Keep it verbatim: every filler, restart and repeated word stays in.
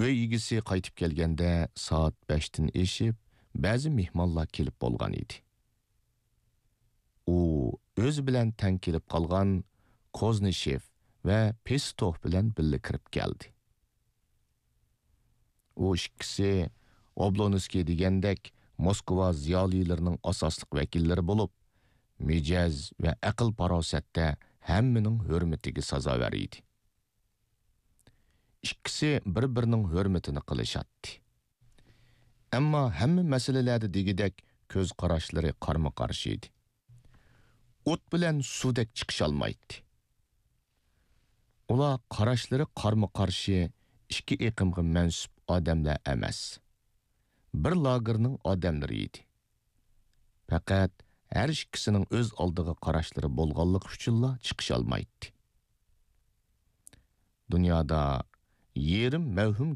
ئۆي ئىگىسى قايتىپ كەلگەندە سائەت بەشتىن ئېشىپ، بەزى مېھمانلار كېلىپ بولغان ئىدى. ئۇ ئۆزى بىلەن تەڭ كېلىپ قالغان كوزنىشېف ۋە پېستوف بىلەن بىللە كىرىپ كەلدى. ئۇ ئىككىسى ئوبلونسكىي دېگەندەك موسكۋا زىيالىيلىرىنىڭ ئاساسلىق ۋەكىللىرى بولۇپ، مىجەز ۋە ئەقىل-پاراسەتتە ھەممىنىڭ ھۆرمىتىگە سازاۋەر ئىدى. ئىككىسى بىر-بىرىنىڭ ھۆرمىتىنى قىلىشاتتى. ئەمما ھەممە مەسىلىلەردە دېگۈدەك كۆز قاراشلىرى قارمۇ-قارشى ئىدى. ئوت بىلەن سۇدەك چىقىشالمايتتى. ئۇلار قاراشلىرى قارمۇ-قارشى ئىككى ئېقىمغا مەنسۇپ ئادەملەر ئەمەس، بىر لاگېرنىڭ ئادەملىرى ئىدى. پەقەت ھەر ئىككىسىنىڭ ئۆز ئالدىغا قاراشلىرى بولغانلىقى ئۈچۈنلا چىقىشالمايتتى. دۇنيادا يېرىم مەۋھۇم